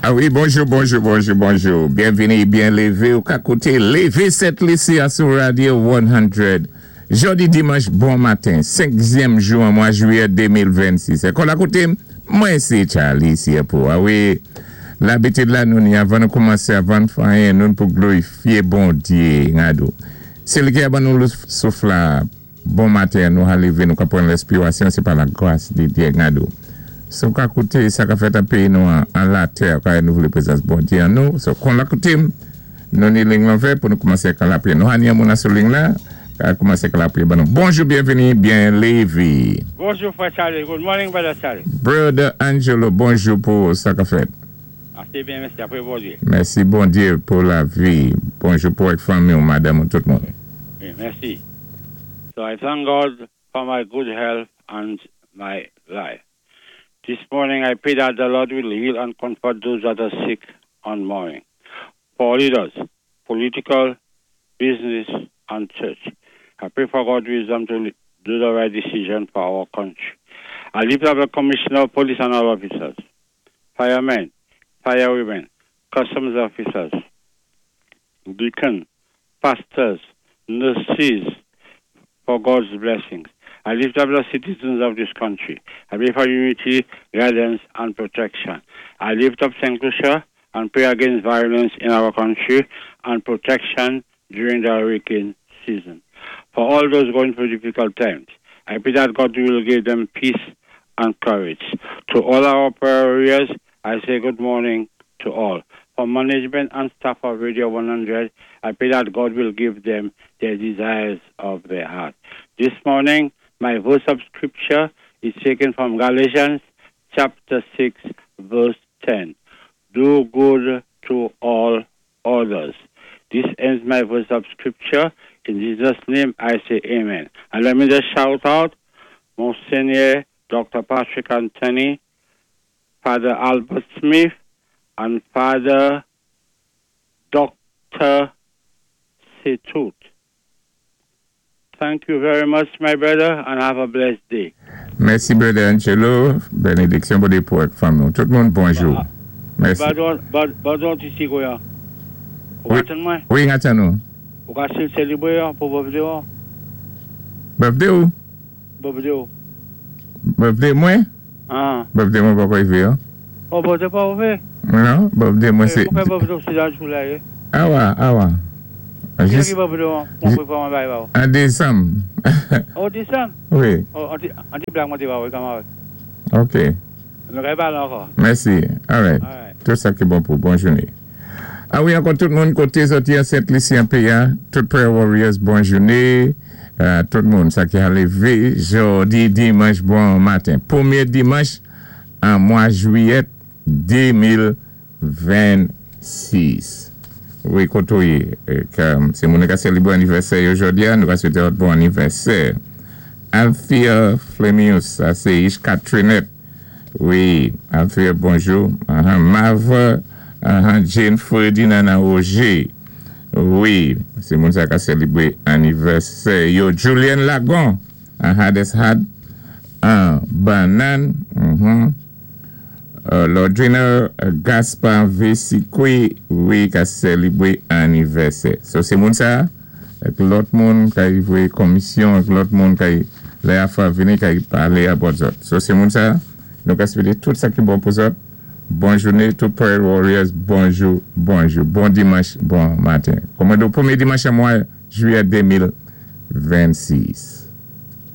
A wi, bonjou, bonjou, bonjou, bonjou. Byenvini, byen lévé ou ka kouté Lévé Sent Lisi a sou Radio 100. Jòdi dimanch bon maten, senkyèm jou an mwa jwiyè 2026. Ékòl a kouté, mwen sé Charlie Siepo. A wi, labitid la nou ni avan nou koumansé, avan n fè anyen, nou pou glorifié Bondyé ngadou. Sé li ki a ban nou souf la bon maten nou a lévé, nou ka pran lèspirasyon, sé pa la gras di Dyé ngadou. Si ou ka kouté sa ka fèt an péyi nou an, an latè, ka nou vlé prezans Bondyé an nou. So, kon la kouté, nou ni ling lan vè pou nou koumansé kan lapriyè. Nou ni yon moun sou ling la, ka koumansé kan lapriyè ban nou. Bonjou, byenvini, byen lévé. Bonjou, frè Charlie. Good morning, brother Charlie. Brother Angelo, bonjou pou sa ka fèt. Asé byen, mèsi. Apwé Bondyé. Mèsi Bondyé pou lavi. Bonjou pou ak fanmi ou madanm ou tout moun. Wi, mèsi. So I thank God for my good health and my life. This morning I pray that the Lord will heal and comfort those that are sick and mourning. For leaders, political, business, and church. I pray for God's wisdom to do the right decision for our country. I lift up the commissioner of police and all officers, firemen, firewomen, customs officers, deacon, pastors, nurses, for God's blessings. I lift up the citizens of this country. I pray for unity, guidance, and protection. I lift up St. Lucia and pray against violence in our country and protection during the hurricane season. For all those going through difficult times, I pray that God will give them peace and courage. To all our prayer warriors, I say good morning to all. For management and staff of Radio 100, I pray that God will give them their desires of their heart. This morning, my verse of scripture is taken from Galatians chapter 6, verse 10. Do good to all others. This ends my verse of scripture. In Jesus' name, I say amen. And let me just shout out Monsignor Dr. Patrick Anthony, Father Albert Smith, and Father Dr. Setut. Thank you very much, my brother, and have a blessed day. Mèsi, Brother Angelo. Bénédiksyon Bondyé pou ak fanmi. Tout moun, bonjou. Mèsi. Padon, ti koya. Ou Wi, atann mwen? Wi, atann nou. Ou ka sélébré pou birthday ou? Birthday ou? Birthday ou. Birthday mwen? Ah. Birthday mwen pa rivé, hein? Oh, birthday pa rivé? Non, birthday mwen sé. Poukwa birthday sé dan July? Eh? Awa, awa. Ki ki birthday ou? Mwen pwépawé yon bagay ba ou. An désanm. Oh, désanm? Wi. Oh, an ti blag mwen té ba ou, kanmenm. OK. Nou ka palé ankò. Mèsi. All right. All right. Tout sa ki bon pou bòn jouné. A wi, ankò tout moun koté sòti an Sent Lisi an PA, tout prayer warriors, bòn jouné. Tout moun sa ki a lévé jòdi dimanch bon maten. Pwémyé dimanch an mwa jwiyè 2026. Wi, koto yé, sé moun ki sélébré anivèsè yo jòdi a, nou va swété bon anivèsè. Althea Flemius, sa sé Ishka Trinet. Wi, Althea, bonjou. Mava Jane Ferdinand Roger. Wi, sé moun sa ki sélébré anivèsè yo. Julian Lagon, an Hades Had, an Banan. Lordrina Gaspard Vessikwe, wi, ki sélébré anivèsè. So, sé moun sa, ak lòt moun ki voyé komisyon, ak lòt moun ki lè a fwa vini ki palé about zòt. So, sé moun sa, nou ka swété tout sa ki bon pou zòt. Bòn jouné, tout prayer warriors, bonjou, bonjou. Bon dimanch, bon maten. Kòman do pwémyé dimanch an mwa jwiyè 2026.